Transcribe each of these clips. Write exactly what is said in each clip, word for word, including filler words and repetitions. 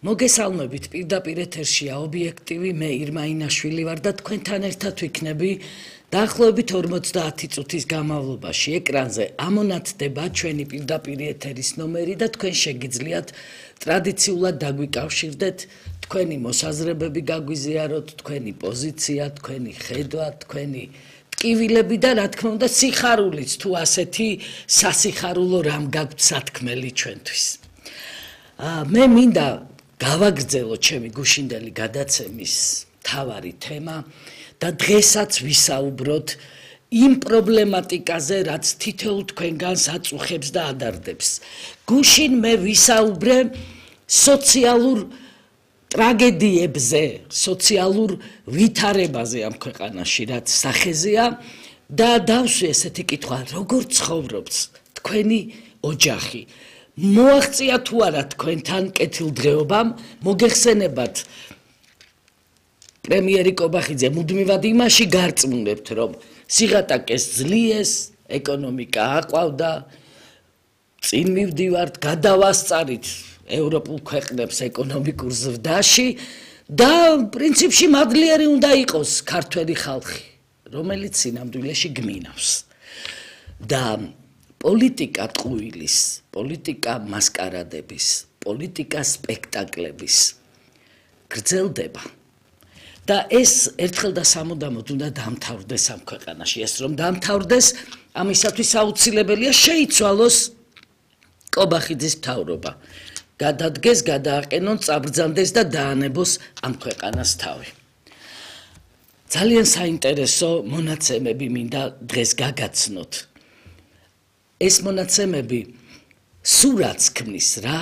მოგესალმებით პირდაპირ ეთერშია ობიექტივი მე ირმა ინაშვილი ვარ და თქვენთან ერთად ვიქნები დაახლოებით ორმოცდაათი წუთის განმავლობაში ეკრანზე ამონათდება ჩვენი პირდაპირ ეთერის ნომერი და თქვენ შეგიძლიათ ტრადიციულად დაგვიკავშირდეთ თქვენი მოსაზრებები გაგვიზიაროთ თქვენი პოზიცია თქვენი ხედვა თქვენი ტკივილები და რა თქმა უნდა სიხარულიც თუ ასეთი სასიხარულო რამ გაგვთ სათქმელი ჩვენთვის მე მინდა გავაგრძელო ჩემი გუშინდელი გადაცემის მთავარი თემა და დღესაც ვისაუბროთ იმ პრობლემატიკაზე, რაც თითოეულ თქვენგანს აწუხებს და ადარდებს. გუშინ მე ვისაუბრე სოციალურ ტრაგედიებზე, სოციალურ ვითარებაზე ამ ქვეყანაში, რაც სახეზეა და დავსვი ესეთი კითხვა, როგორ ცხოვრობს თქვენი ოჯახი? მოაღწია თუ არა თქვენთან კეთილდღეობამ, მოგეხსენებათ პრემიერი კობახიძე მუდმივად იმაში გარწმუნებთ, რომ სიღატაკეს ძლიეს, ეკონომიკა აყვავდა, წინ მივდივართ, გადავასწარით ევროპულ ქვეყნებს ეკონომიკურ ზრდაში და პრინციპში მადლიერი უნდა იყოს ქართველი ხალხი, რომელიც სინამდვილეში გმინავს. და პოლიტიკა ტყუილის, პოლიტიკა მასკარადების, პოლიტიკა სპექტაკლების გრძელდება. და ეს ერთხელ და სამუდამოდ უნდა დამთავრდეს ამ ქვეყანაში. ეს რომ დამთავრდეს, ამისათვის აუცილებელია შეიცვალოს კობახიძის მთავრობა. გადადგეს, გადააყენონ, წაბრძანდეს და დაანებოს ამ ქვეყანას თავი. ძალიან საინტერესო მონაცემები მინდა დღეს გაგაცნოთ. ეს მონაცემები სურათს ქმნის რა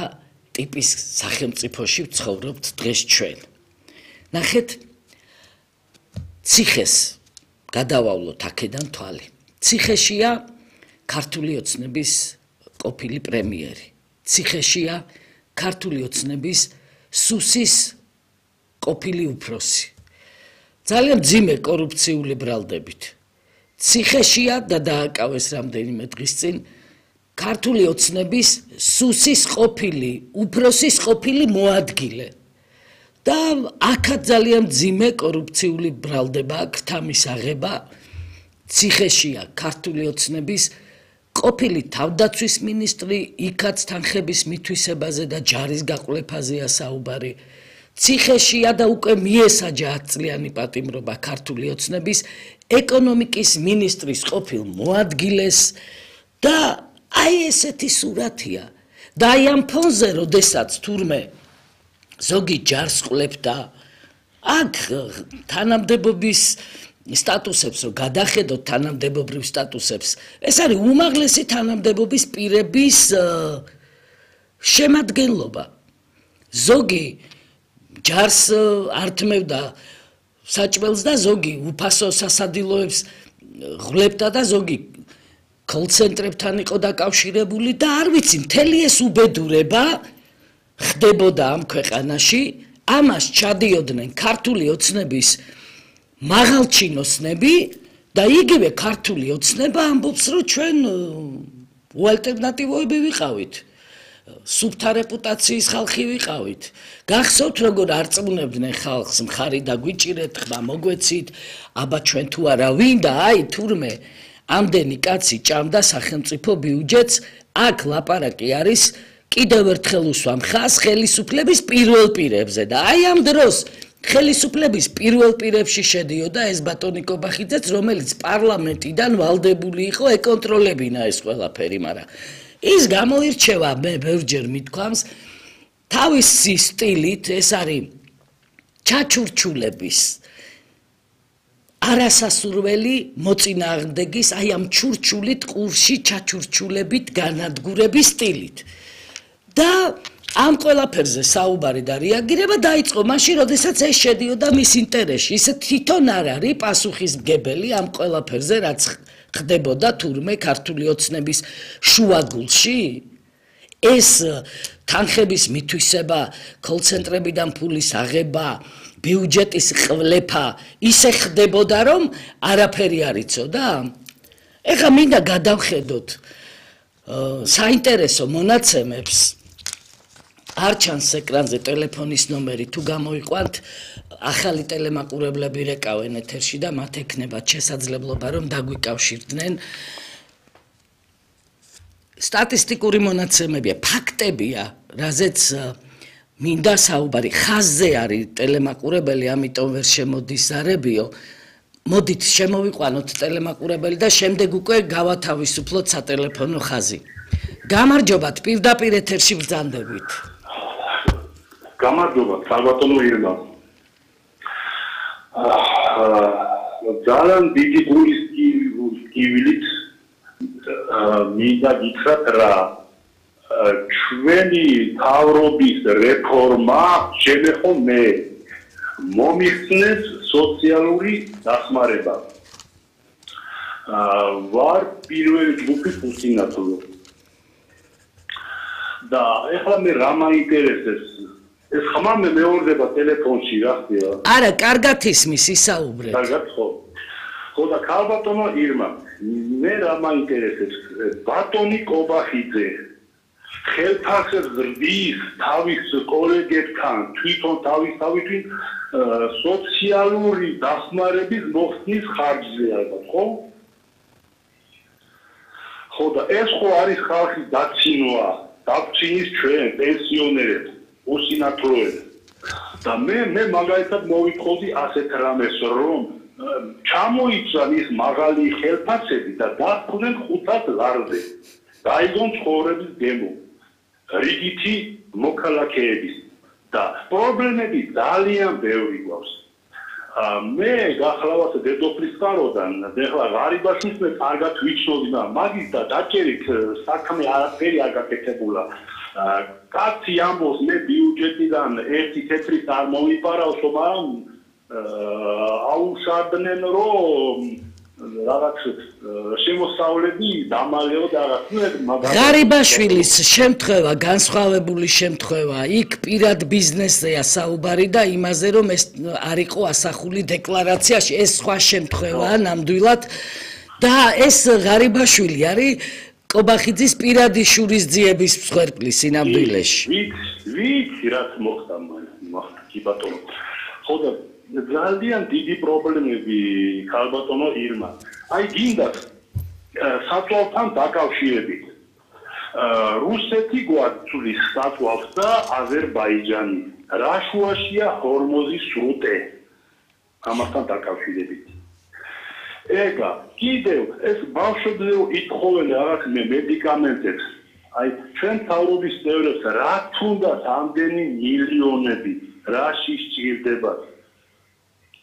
ტიპის სახელმწიფოში ვცხოვრობთ დღეს ჩვენ. ნახეთ ციხეს გადავავლოთ აქედან თვალი. ციხეშია ქართული ოცნების ყოფილი პრემიერი. ციხეშია ქართული ოცნების სუსის ყოფილი უფროსი. ძალიან მძიმე კორუფციული ბრალდებით. ციხეშია და დააკავეს რამდენიმე დღის წინ ქართული ოცნების სუსის ყოფილი უფროსის ყოფილი მოადგილე. და აქაც ძალიან მძიმე კორუფციული ბრალდება აქვს თამის აღება ციხეშია ქართული ოცნების ყოფილი თავდაცვის მინისტრი იქაც თანხების მითვისებაზე და ჯარის გაყოლაფაზეა საუბარი ციხეშია და უკვე მიესაჯა ათწლიანი პატიმრობა ქართული ოცნების ეკონომიკის მინისტრის ყოფილ მოადგილეს და აი ესეთი სურათია და აი ამ ფონზე როდესაც თურმე ზოგი ჯარს ყლებდა აქ თანამდებობის სტატუსებს რომ გადახედოთ თანამდებობრივ სტატუსებს ეს არის უმაღლესი თანამდებობის პირების შემადგენლობა ზოგი ჯარს ართმევდა საჭმელს და ზოგი უფასო სასადილოებს ღლებდა და ზოგი კოლცენტრებთან იყო დაკავშირებული და არ ვიცი მთელი ეს უბედურება ხდებოდა ამ ქვეყანაში, ამას ჩადიოდნენ ქართული ოცნების მაღალჩინოსნები და იგივე ქართული ოცნება ამბობს, რომ ჩვენ უალტერნატივოები ვიყავით, სუფთა რეპუტაციის ხალხი ვიყავით. გახსოვთ, როგორ არწმუნებდნენ ხალხს, მხარი დაგვიჭირეთ, ხმა მოგვეცით, აბა ჩვენ თუ არა ვინ და აი თურმე ამდენი კაცი ჭამდა სახელმწიფო ბიუჯეტს, აქ ლაპარაკი არის კიდევ ერთხელ უსვამ ხას ხელისუფლების პირველ პირებზე და აი ამ დროს ხელისუფლების პირველ პირებში შედიოდა ეს ბატონი კობახიძეც, რომელიც პარლამენტიდან ვალდებული იყო ეკონტროლებინა ეს ყველაფერი, მაგრამ ის გამოირჩევა მე ბევრჯერ მithქვამს თავისი სტილით, ეს არის ჩაჩურჩულების არასასურველი მოწინააღმდეგის აი ამ ჩურჩულით ყურში ჩაჩურჩულებით განადგურების სტილით. და ამ ყველაფერზე საუბარი და რეაგირება დაიწყო მაშინ, როდესაც ეს შედიოდა მის ინტერესში. ის თვითონ არ არის პასუხისმგებელი ამ ყველაფერზე, რაც ხდებოდა თურმე ქართული ოცნების შუაგულში. ეს თანხების მითვისება, კოლცენტრებიდან ფულის აღება, ბიუჯეტის ყვლეფა ისე ხდებოდა, რომ არაფერი არ იცოდა. ეხლა მინდა გადავხედოთ საინტერესო მონაცემებს არ ჩანს ეკრანზე ტელეფონის ნომერი, თუ გამოიყვანთ, ახალი ტელემაყურებლები რეკავენ ეთერში და მათ ექნებათ შესაძლებლობა, რომ დაგვიკავშირდნენ. სტატისტიკური მონაცემებია, ფაქტებია, რაზეც მინდა საუბარი, ხაზზე არის ტელემაყურებელი, ამიტომ ვერ შემოდის ზარებიო. მოდით შემოვიყვანოთ ტელემაყურებელი და შემდეგ უკვე გავათავისუფლოთ სატელეფონო ხაზი. გამარჯობათ, პირდაპირ ეთერში ბრძანდებით. გამარჯობა, საბატონო ირმა. ძალიან დიდი გულისკივილით მინდა გითხრათ რა ჩვენი თავრობის რეფორმა შემეხო მე მომიხსნეს სოციალური დახმარება. ვარ პირველი ჯგუფის უსინათლო. და ეხლა მე რა მაინტერესებს ეს ხმა მე მეორდება ტელეფონში რა ხდება? არა, კარგად ისმის ისაუბრეთ. კარგად ხო. ხო და ქალბატონო ირმა, მე რა მაინტერესებს ბატონი კობახიძე ხელფასს ზრდის თავის კოლეგებთან, თვითონ თავის თავისით სოციალური დახმარების მოხსნის ხარჯზე ალბათ, ხო? ხო და ეს ხო არის ხალხის დაცინვა, დაცინვის ჩვენ პენსიონერებს, უსინათლოებს. და მე მე მაგალითად მოვიტყოდი ასეთ რამეს, რომ ჩამოიცვან ის მაღალი ხელფასები და დაფხდნენ ხუთად ლარზე. გაიგონ ცხოვრების გემო. რიგითი მოქალაქეების და პრობლემები ძალიან ბევრი გვაქვს. მე გახლავთ დედოფლის წყაროდან, ეხლა ღარიბაშვილს მე კარგად ვიცნობდი და მაგის და დაჭერით საქმე არაფერი არ გაკეთებულა. კაცი ამბობს მე ბიუჯეტიდან ერთი თეთრი არ მომიპარავსო, მაგრამ აუშავდნენ რომ რაღაც შემოსავლები დამალეო და რაღაც ღარიბაშვილის შემთხვევა განსხვავებული შემთხვევა იქ პირად ბიზნესზეა საუბარი და იმაზე რომ ეს არ იყო ასახული დეკლარაციაში ეს სხვა შემთხვევაა ნამდვილად და ეს ღარიბაშვილი არის კობახიძის პირადი შურისძიების მსხვერპლი სინამდვილეში ვიცი ვიცი რაც მოხდა მოხდა კი ბატონო ხო და ძალიან დიდი პრობლემები ქალბატონო ირმა. აი გინდათ საწვავთან დაკავშირებით. რუსეთი გვაწვდის საწვავს და აზერბაიჯანი. რა შუაშია ჰორმოზის სრუტე. ამასთან დაკავშირებით. ეგა კიდევ ეს ბავშვებზე ითხოვენ რაღაც მედიკამენტებს. აი ჩვენ თავრობის წევრებს რა თუნდაც ამდენი მილიონები რაში სჭირდება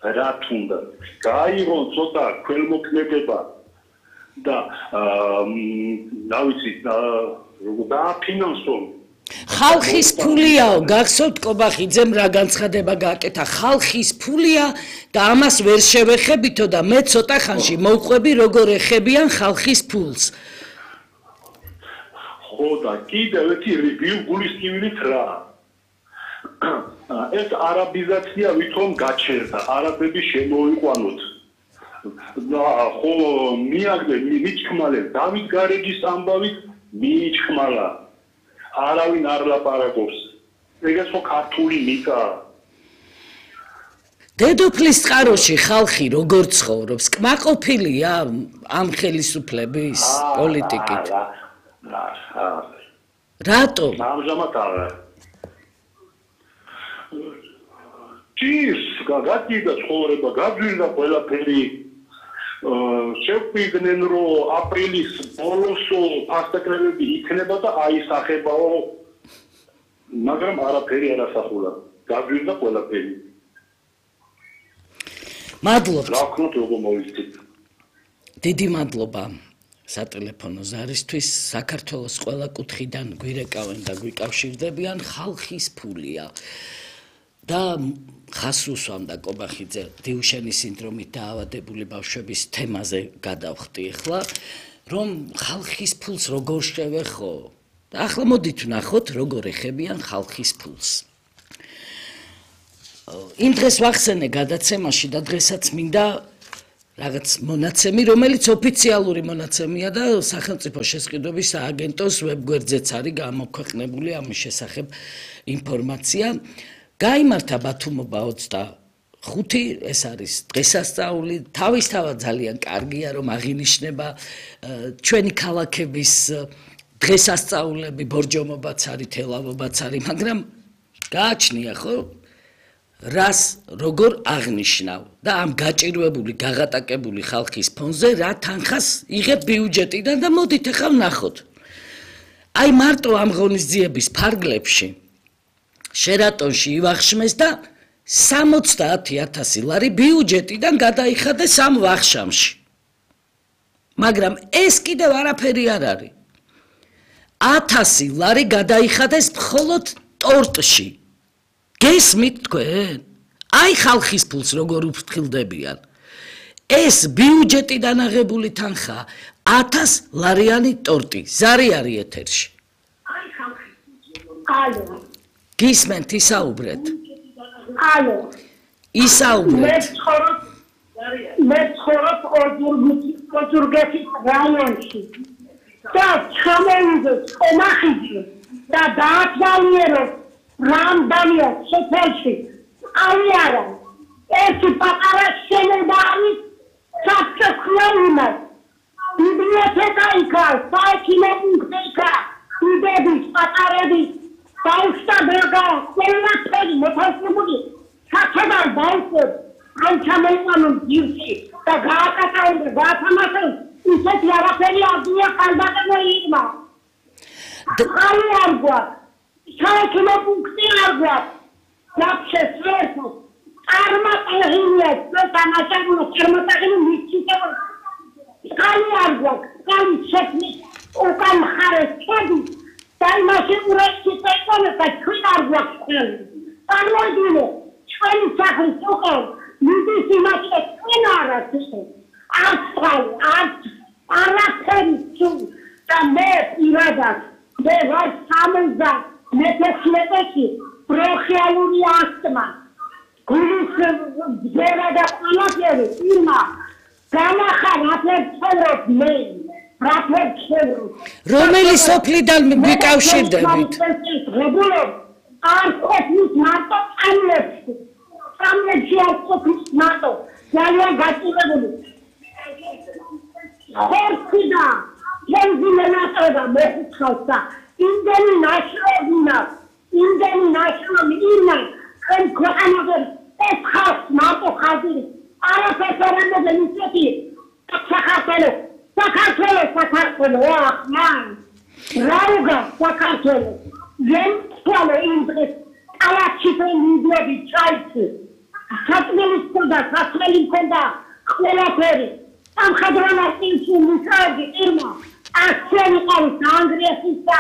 რა თუნდა გაიღონ ცოტა ქველმოქმედება და რა ვიცი დააფინანსონ ხალხის ფულიაო გახსოვთ კობახიძემ რა განცხადება გააკეთა ხალხის ფულია და ამას ვერ შევეხებითო და მე ცოტა ხანში მოვყვები როგორ ეხებიან ხალხის ფულს ხო და კიდევ ერთი გულისკივილით რა ეს არაბიზაცია ვითომ გაჩერდა, არაბები შემოიყვანოთ. და ხო მიაგდე მიჩქმალე დავით გარეჯის ამბავით მიჩქმალა. არავინ არ ლაპარაკობს. ეგეც ხო ქართული მიტა. დედოფლის წყაროში ხალხი როგორ ცხოვრობს? კმაყოფილია ამ ხელისუფლების პოლიტიკით? რატო? ამჟამად არა. ჭირს გაგიდა ცხოვრება გაძვირდა ყველაფერი შევყვიდნენ რომ აპრილის ბოლოს ფასტაკრებები იქნება და აისახებაო მაგრამ არაფერი არ ასახულა გაძვირდა ყველაფერი მადლობთ რა ვქნოთ როგორ მოვიცით დიდი მადლობა სატელეფონო ზარისთვის საქართველოს ყველა კუთხიდან გვირეკავენ და გვიკავშირდებიან ხალხის ფულია და ხას უსვამდა კობახიძე დიუშენის სინდრომით დაავადებული ბავშვების თემაზე გადავხდი ახლა რომ ხალხის ფულს როგორ შევეხო და ახლა მოდით ვნახოთ როგორ ეხებიან ხალხის ფულს იმ დღეს ვახსენე გადაცემაში და დღესაც მინდა რაღაც მონაცემი, რომელიც ოფიციალური მონაცემია და სახელმწიფო შესყიდვების სააგენტოს ვებგვერდზეც არის გამოქვეყნებული ამის შესახებ ინფორმაცია. გაიმართა ბათუმობა ოცდახუთი, ეს არის დღესასწაული, თავისთავად ძალიან კარგია, რომ აღინიშნება ჩვენი ქალაქების დღესასწაულები, ბორჯომობაც არის, თელავობაც არის, მაგრამ გააჩნია ხო? რას როგორ აღნიშნავ და ამ გაჭირვებული, გაღატაკებული ხალხის ფონზე რა თანხას იღებ ბიუჯეტიდან და მოდით ახლა ვნახოთ. აი მარტო ამ ღონისძიების ფარგლებში შერატონში ივახშმეს და სამოცდაათი ათასი ლარი ბიუჯეტიდან გადაიხადეს ამ ვახშამში. მაგრამ ეს კიდევ არაფერი არ არის. ათასი ლარი გადაიხადეს მხოლოდ ტორტში. გესმით თქვენ? აი ხალხის ფულს როგორ უფრთხილდებიან. ეს ბიუჯეტიდან აღებული თანხა ათას ლარიანი ტორტი. ზარი არის ეთერში. ალო. გისმენთ ისაუბრეთ. ალო. ისაუბრეთ. მე ცხოვრობ მე ცხოვრობ ოზურგეთის რაიონში. და ჩამოვიდეს ყომახიძე და დაათვალიეროს რამდენია სოფელში არის არა ერთი პატარა შენება არის საფრთხეებად ბიბლიოთეკა იქა საექიმო პუნქტი იქა უდების პატარების დაუსტაბერგა ყველაფერი მოთავსებული საჩაბარ ბავშვებს ამ ჩამოიყვანონ ძირში და გააკეთებენ გაათამაშონ ისეთი არაფერი ადია ხალბატონო ირმა ხალი არ გვაქვს საექიმო პუნქტი არ გვაქვს დაფშეს ვერტო წარმატებია თამაშებულო წარმატებული მისცემ ხალი არ გვაქვს ხალი შექმნის უკან მხარეს ჩადი და იმაში ურეცი წეკონა და ჩვენ არ გვაქვს ხელი წარმოიდგინე ჩვენი სახლის უკან მიდის იმაში ჩვენ არ არის არც ხალი არც არაფერი თუ და მე პირადად მე ვარ სამზა მეთექნიკაში პროხიალური ასტმა გულის ძერა და ყველაფერი ირმა გამახარაფერ ცხოვრობ მე რაფერ ცხოვრობ რომელი სოფლიდან მიკავშირდებით რეგულობ არ ყოფნის მარტო წამლებში წამლებში არ ყოფნის მარტო ძალიან გაჭირებული ხორცი და ბენზინატობა მეხუთხალსა იმდენი ნაშრომია იმდენი ნაშრომი ინა ჩვენ ქვეყანაზე ეს ხალხს მარტო ხაზი არაფერს არ ამბობენ ისეთი საქართველოს საქართველოს საქართველოს ახმან რაუგა საქართველოს ზემ სკოლა ინდრეს კალაჩი პენიდები ჩაიცი საწმელის კონდა საწმელი კონდა ყველაფერი ამ ხადრონასტინში მისაგი ირმა ასენი ყავს ანგრიესის და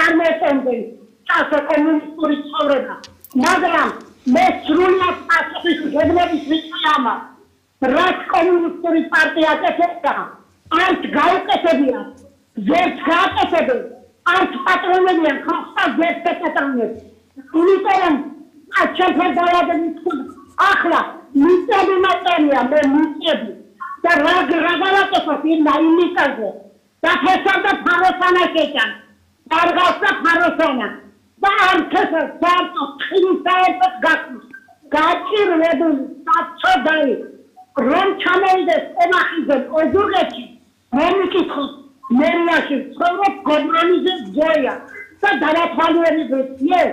ამეთენდენ წასო კომუნისტური ცხოვრება მაგრამ მე სრულად ასეთის გეგმების ვიციამა რაც კომუნისტური პარტია აკეთებდა არც გაუკეთებია ზერც გააკეთებენ არც პატრონებიან ხალხს ზერც ეკეთებენ იმიტომ აჩაფა დაავადების ახლა მიწები მატერია მე მიწები და რა გრაგალაკება პირნა იმიტაზე და ფესავდა ფაროსანა შეჭან დარგავდა ფაროსანა და არქესა სარტო ხინსაებად გახს გაჭირვებული საწოდაი რომ ჩამოვიდეს ყომახიძე ოზურგეთში მე მიკითხო მერიაში ცხოვრობ გოდრონიძე ზოია და დაათვალიერებს იე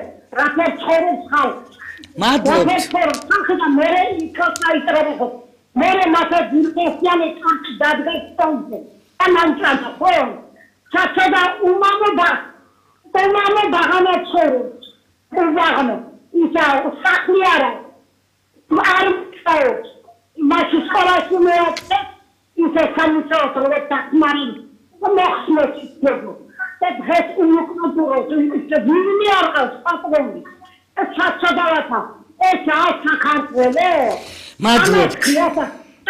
რაფერ ცხოვრობს ხალხი მადლობთ და მე იქოს აიტრებო მე მათა ძირფესიანი კარტი დადგასტონზე და მანჭადა ხო ჩაჩოდა უმამობა უმამო ბაღანა ცხოვრობს უზაღნო ისა სახლი არა არ წაობს მაშ სკოლაში მეოთხე ისე სამუშაოს როცა თქმარი მოხსნეს ისებო და დღეს უნიკნოდუროს ისე ვინმე არ ყავს პატრონი ჩაჩოდავათა ეს არის საქართველო მადლობთ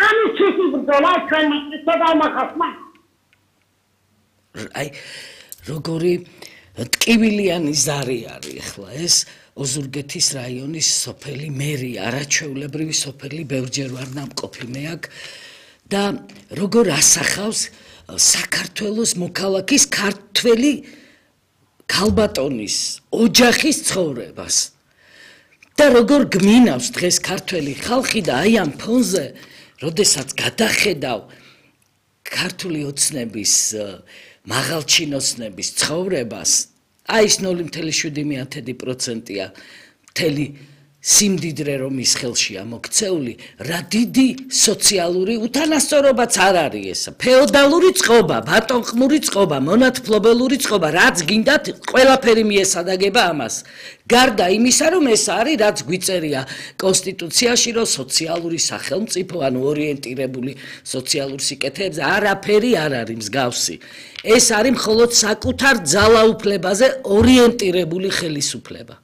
ამი ცისი ბრძოლა ჩვენ შევამახასმა აი როგორი ტკივილიანი ზარი არის ახლა ეს ოზურგეთის რაიონის სოფელი მერი არაჩვეულებრივი სოფელი ბევრჯერ ვარ ნამყოფი მე აქ და როგორ ასახავს საქართველოს მოქალაქის ქართველი ქალბატონის ოჯახის ცხოვრებას და როგორ გმინავს დღეს ქართველი ხალხი და აი ამ ფონზე როდესაც გადახედავ ქართული ოცნების მაღალჩინოსნების ცხოვრებას აი ეს ნული virgulă șapte პროცენტია მთელი სიმდიდრე რომ ის ხელშია მოქცეული რა დიდი სოციალური უთანასწორობაც არ არის ესა ფეოდალური წყობა ბატონყმური წყობა მონათფლობელური წყობა რაც გინდათ ყველაფერი მიესადაგება ამას გარდა იმისა რომ ეს არის რაც გვიწერია კონსტიტუციაში რომ სოციალური სახელმწიფო ანუ ორიენტირებული სოციალურ სიკეთეებზე არაფერი არ არის მსგავსი ეს არის მხოლოდ საკუთარ ძალაუფლებაზე ორიენტირებული ხელისუფლება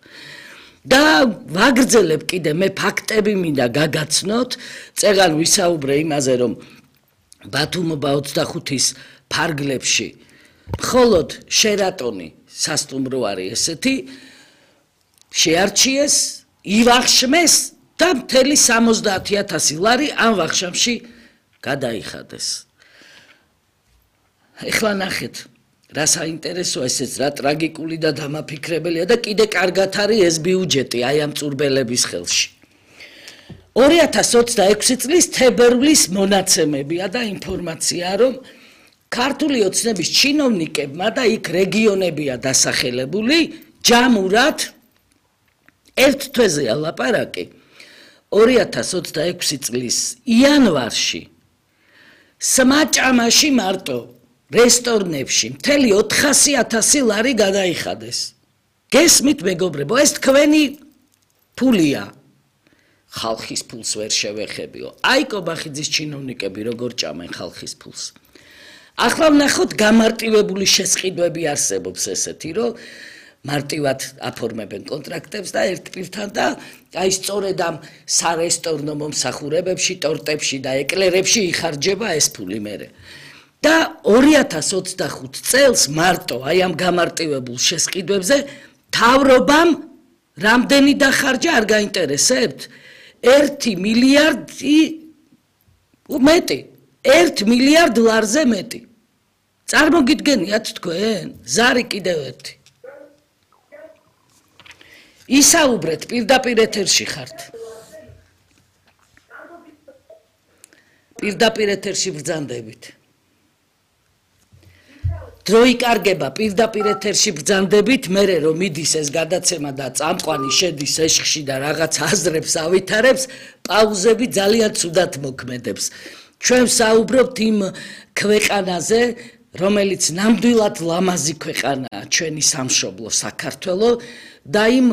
და ვაგრძელებ კიდე მე ფაქტები მინდა გაგაცნოთ წეგან ვისაუბრე იმაზე რომ ბათუმობა ოცდახუთის ფარგლებში მხოლოდ შერატონი სასტუმრო არის ესეთი შეარჩიეს ივახშმეს და მთელი სამოცდაათი ათასი ლარი ამ ვახშამში გადაიხადეს ეხლა ნახეთ რა საინტერესოა ესეც რა ტრაგიკული და დამაფიქრებელია და კიდე კარგად არის ეს ბიუჯეტი აი ამ წურბელების ხელში ორი ათას ოცდაექვსი წლის თებერვლის მონაცემებია და ინფორმაცია რომ ქართული ოცნების ჩინოვნიკებმა და იქ რეგიონებია დასახელებული ჯამურად ერთ თვეზეა ლაპარაკი ორი ათას ოცდაექვსი წლის იანვარში სმაჭამაში მარტო რესტორნებში მთელი ოთხასი ათასი ლარი გადაიხადეს. გესმით მეგობრებო, ეს თქვენი ფულია. ხალხის ფულს ვერ შევეხებიო. აი კობახიძის ჩინოვნიკები როგორ ჭამენ ხალხის ფულს. ახლა ვნახოთ გამარტივებული შესყიდვები არსებობს ესეთი, რომ მარტივად აფორმებენ კონტრაქტებს და ერთ პირთან და აი სწორედ ამ სარესტორნო მომსახურებებში, ტორტებში და ეკლერებში იხარჯება ეს ფული მერე. და ორი ათას ოცდახუთ წელს მარტო აი ამ გამარტივებულ შესყიდვებზე თავრობამ რამდენი დახარჯა არ გაინტერესებთ? ერთი მილიარდი მეტი, ერთ მილიარდ ლარზე მეტი. წარმოგიდგენიათ თქვენ? ზარი კიდევ ერთი. ისაუბრეთ პირდაპირ ეთერში ხართ. პირდაპირ ეთერში ბრძანდებით. დრო იკარგება პირდაპირ ეთერში ბრძანდებით, მერე რომ მიდის ეს გადაცემა და წამყვანი შედის ეშხში და რაღაც აზრებს ავითარებს, პაუზები ძალიან ცუდად მოქმედებს. ჩვენ ვსაუბრობთ იმ ქვეყანაზე, რომელიც ნამდვილად ლამაზი ქვეყანაა, ჩვენი სამშობლო საქართველო და იმ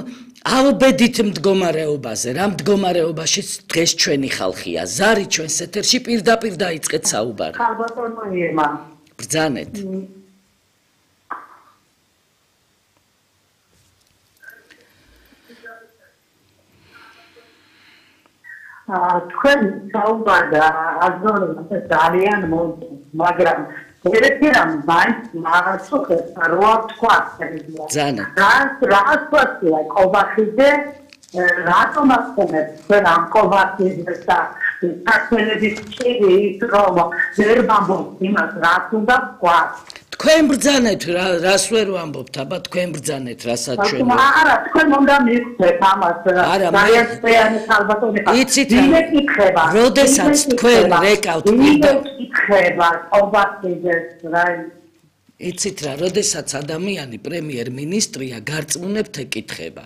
ალბედით მდგომარეობაზე, რა მდგომარეობაშიც დღეს ჩვენი ხალხია. ზარი ჩვენს ეთერში პირდაპირ დაიწყეთ საუბარი. ხალბატონო ირმა. ბრძანეთ. თქვენ საუბარდა აზროვნებაზე ძალიან მოდი, მაგრამ ერთი რამ მაინც მაღალსუხეს რა თქვა შეიძლება. ბრძანეთ. რას რას თქვა კობახიძე რატომ ახსენებს თქვენ ამ კობახიძეს და საქართველოს ჭირი რომ ვერ ვამბობთ იმას რაც უნდა თქვა. თქვენ ბრძანეთ რას ვერ ვამბობთ, აბა თქვენ ბრძანეთ რასაც ჩვენ. არა, თქვენ უნდა მიხვდეთ ამას. არა, ძალიან წეანი ხალბატონი ხარ. იცით რა? იმე კითხება. როდესაც თქვენ რეკავთ იმე კითხება, კობახიძეს რა. იცით რა, როდესაც ადამიანი პრემიერ-მინისტრია, გარწმუნებთ ეკითხება.